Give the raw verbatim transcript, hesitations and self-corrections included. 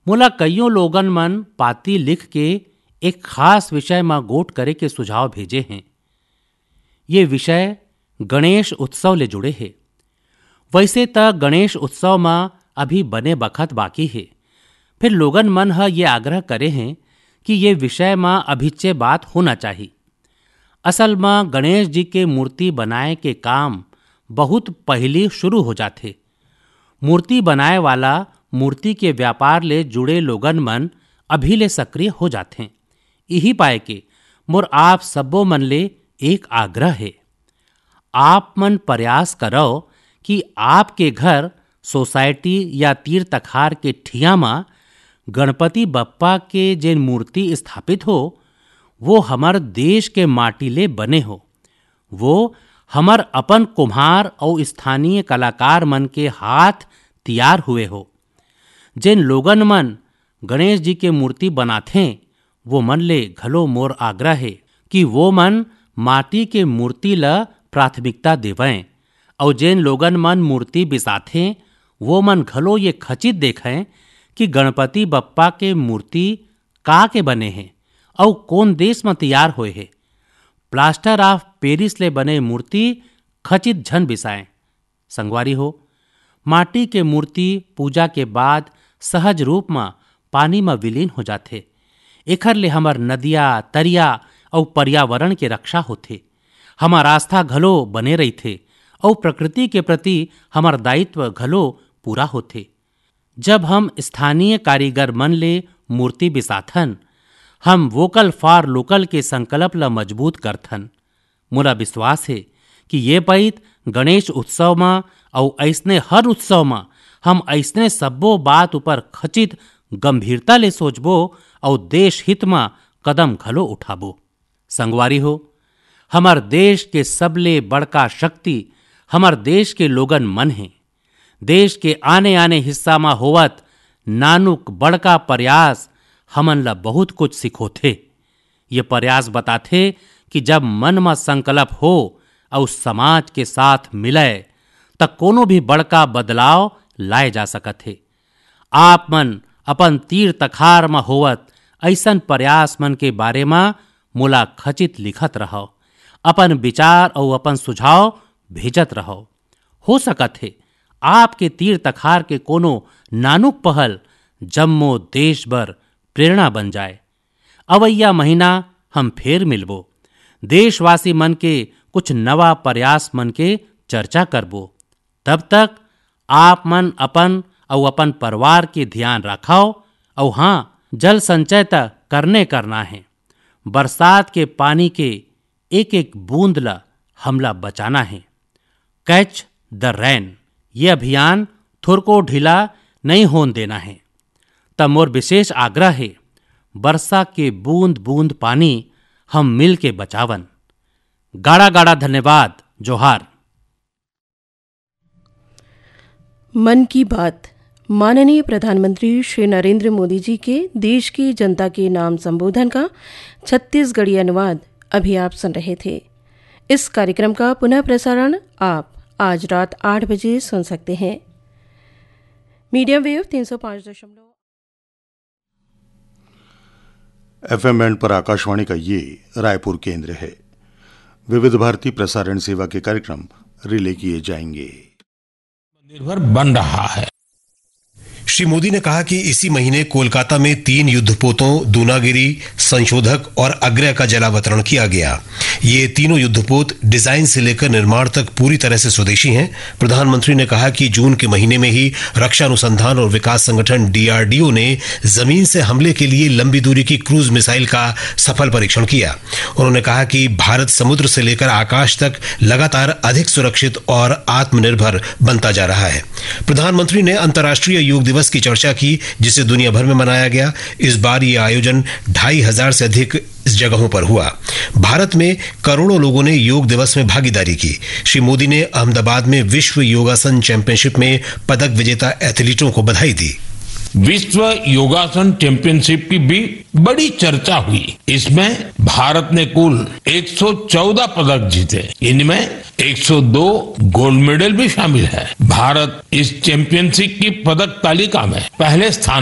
मोला कइयों लोगन मन पाती लिख के एक खास विषय म गोठ करे के सुझाव भेजे हें। ये विषय गणेश उत्सव ले जुड़े हे। वइसे त गणेश उत्सव म अभी बने बखत बाकी हे, फिर लोगन मन ह ये आग्रह करे हें कि ये विषय म अभिच्चे बात होना चाही। असल म गणेश जी के मूर्ति बनाए के काम बहुत पहिली शुरू हो जाथे। मूर्ति बनाए वाला मूर्ति के व्यापार ले जुड़े लोगन मन अभी ले सक्रिय हो जाथें। इही पाए के मोर आप सब्बो मन ले एक आग्रह हे, आप मन प्रयास करव कि आपके घर, सोसाइटी या तीर तखार के ठिया म गणपति बप्पा के जेन मूर्ति स्थापित हो, वो हमर देश के माटी ले बने हो, वो हमर अपन कुम्हार अउ स्थानीय कलाकार मन के हाथ तियार हुए हो। जेन लोगन मन गणेश जी के मूर्ति बनाथें, वो मन ले घलो मोर आग्रह हे कि वो मन माटी के मूर्ति ल प्राथमिकता देवंय, अउ जेन लोगन मन मूर्ति बिसाथें, वो मन घलो ये खचित देखंय कि गणपति बप्पा के मूर्ति का के बने हे अउ कोन देश म तियार होए हे। प्लास्टर ऑफ पेरिस ले बने मूर्ति खचित झन बिसाएं। संगवारी हो, माटी के मूर्ति पूजा के बाद सहज रूप म पानी म विलीन हो जाथे। एखर ले हमर नदिया, तरिया अउ पर्यावरण के रक्षा होथे। हमर आस्था घलो बने रहिथे अउ प्रकृति के प्रति हमर दायित्व घलो पूरा होथे। जब हम स्थानीय कारीगर मन ले मूर्ति बिसाथन, हम वोकल फॉर लोकल के संकल्प ल मजबूत करथन। मोला विश्वास हे कि ये पइत गणेश उत्सव म अउ अइसने हर उत्सव म हम अइसने सब्बो बात ऊपर खचित गंभीरता ले सोचबो अउ देश हित म कदम घलो उठाबो। संगवारी हो, हमर देश के सबले बड़का शक्ति हमर देश के लोगन मन हे। देश के आने-आने हिस्सा म होवत नानुक बड़का प्रयास हमन ल बहुत कुछ सिखोथे। ये प्रयास बताथे कि जब मन म संकल्प हो अउ समाज के साथ मिलय, त कोनो भी बड़का बदलाव लाए जा सकत हे। आप मन अपन तीर तखार म होवत अइसन प्रयास मन के बारे म मोला खचित लिखत रहव। अपन विचार अउ अपन सुझाव भेजत रहव। हो सकत हे, आपके तीर तखार के कोनो नानुक पहल जम्मो देश बर प्रेरणा बन जाए। अवइया महीना हम फेर मिलबो। देशवासी मन के कुछ नवा प्रयास मन के चर्चा करबो। तब तक आप मन अपन अउ अपन परिवार के ध्यान राखव। अउ हाँ, जल संचय त करने करना हे। बरसात के पानी के एक-एक बूंद ल हमला बचाना हे। कैच द रेन, ये अभियान थोरको ढीला नइ होन देना हे। त मोर विशेष आग्रह हे, बरसा के बूंद-बूंद पानी हम मिल के बचावन। गाड़ा-गाड़ा धन्यवाद, जोहार। मन की बात, माननीय प्रधानमंत्री श्री नरेंद्र मोदी जी के देश की जनता के नाम संबोधन का छत्तीसगढ़ी अनुवाद अभी आप सुन रहे थे। इस कार्यक्रम का पुनः प्रसारण आप आज रात आठ बजे सुन सकते हैं। मीडियम वेव तीन सौ पाँच दशमलव एफएम बैंड पर आकाशवाणी का ये रायपुर केंद्र है। विविध भारती प्रसारण सेवा के कार्यक्रम रिले किए जाएंगे। निर्भर बन रहा है। श्री मोदी ने कहा कि इसी महीने कोलकाता में तीन युद्धपोतों दूनागिरी, संशोधक और अग्रय का जलावतरण किया गया। ये तीनों युद्धपोत डिजाइन से लेकर निर्माण तक पूरी तरह से स्वदेशी हैं। प्रधानमंत्री ने कहा कि जून के महीने में ही रक्षा अनुसंधान और विकास संगठन डीआरडीओ ने जमीन से हमले के लिए लंबी दूरी की क्रूज मिसाइल का सफल परीक्षण किया। उन्होंने कहा कि भारत समुद्र से लेकर आकाश तक लगातार अधिक सुरक्षित और आत्मनिर्भर बनता जा रहा है। प्रधानमंत्री ने अंतर्राष्ट्रीय योग दिवस की चर्चा की, जिसे दुनिया भर में मनाया गया। इस बार ये आयोजन ढाई हजार से अधिक जगहों पर हुआ। भारत में करोड़ों लोगों ने योग दिवस में भागीदारी की। श्री मोदी ने अहमदाबाद में विश्व योगासन चैंपियनशिप में पदक विजेता एथलीटों को बधाई दी। विश्व योगासन चैंपियनशिप की भी बड़ी चर्चा हुई। इसमें भारत ने कुल एक सौ चौदह पदक जीते। इनमें एक सौ दो गोल्ड मेडल भी शामिल है। भारत इस चैंपियनशिप की पदक तालिका में पहले स्थान